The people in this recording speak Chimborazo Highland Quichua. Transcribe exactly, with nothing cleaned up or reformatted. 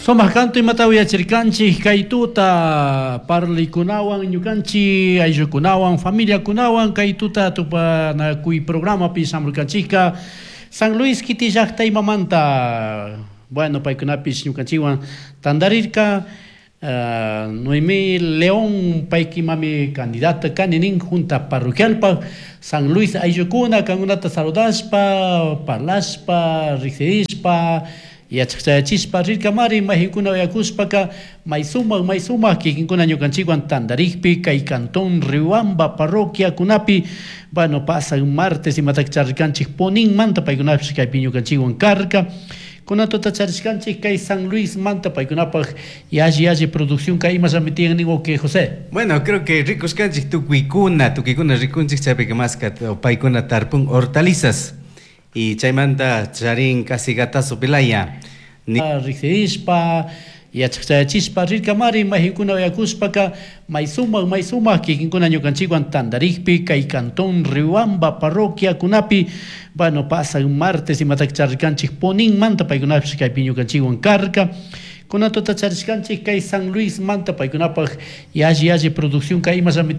Sumaq kantu imata uyachirkanchik kay tuta parlikunawan ñukanchik ayllukunawan familiakunawan kay tuta tupanakuy programapi shamurkanchikka San Luis kiti llaqta imamanta bueno paykunapish ñukanchikwan tantarirka uh, Noemí León paykimami candidata kani nin junta parroquialpaq San Luis ayllukuna kankunata saludashpa parlashpa riqsirishpa yachaqchayachispa rirkamari mayqinkuna uyakushpaka may sumaq may sumaq kikinkuna ñukanchikwan tantarikpi kay cantón Riobamba parroquiakunapi bueno pasan martes imataka charirkanchik Poninmanta paykunapish kaypi ñukanchikwan karka kunan tuta charishkanchik kay San Luis manta paykunapaq yalli yalli producción kay imallami tiyan nin que José. Bueno, creo que rikushkanchik tukuykuna, tukuykuna rikunchik chaypika maska paykuna tarpun hortalizas y chaymanta charin casi gatazo pilaya. Riqsirishpa yachaqchayachispa rirkamari mayqinkuna uyakushpaka may sumaq may sumaq kikinkuna ñukanchikwan tantarikpi kay cantón Riobamba parroquiakunapi bueno pasan martes imataka charirkanchik Poninmanta paykunapish kaypi ñukanchikwan karka kunan tuta charishkanchik kay San Luis manta paykunapaq yalli yalli producción kay imallami